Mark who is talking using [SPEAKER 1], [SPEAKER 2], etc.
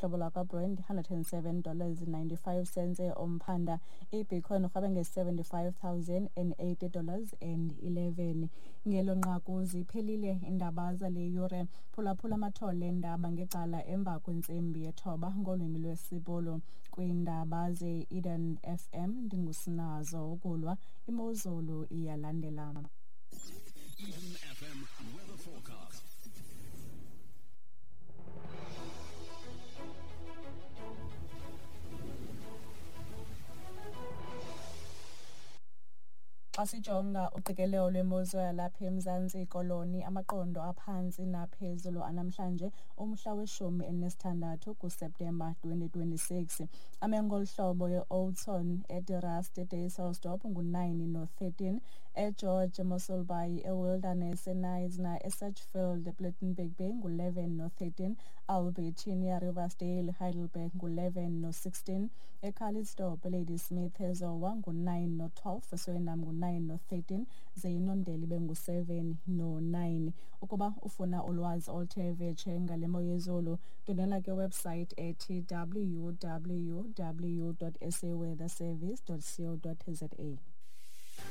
[SPEAKER 1] Hlobo lwakwaBrent $107.95 umphanda. IBitcoin urhweba nge-$75,080 and 11. Ngelo nqaku ziphelile iindaba zale yure. Phulaphula amathole eendaba ngecala emva kwentsimbi yethoba ngolwimi lwesiBhulu. Kwiindaba ze-Eden FM ndinguSinazo Ukulwa. Imozulu iyalandela.
[SPEAKER 2] Eden FM weather forecast.
[SPEAKER 1] Xa sijonga uqikelelo lwemozulu yalapha eMzantsi Koloni, amaqondo aphantsi naphezulu anamhlanje umhla weshumi elinesithandathu kuSeptemba 2026 ame ngolu hlobo: e-Oudtshoorn, eDe-Rust, eDysselsdorp ngu-9 no-13, eGeorge, eMossel Bay, eWilderness, eKnysna, eSedgefield, ePlettenberg Bay ngu-11 no-13, Albertinia, Riversdale, Heidelberg ngu-11 no-16, eCalitzdorp, eLadysmith, eZowa ngu-9 no-12, eSwellendam ngu-9 no-13, ze iNondeli ibe ngu-7 no-9. Ukuba ufuna ulwazi oluthe vetshe ngale mo yezulu, ndwendwela ke website ethi www.saweatherservice.co.za.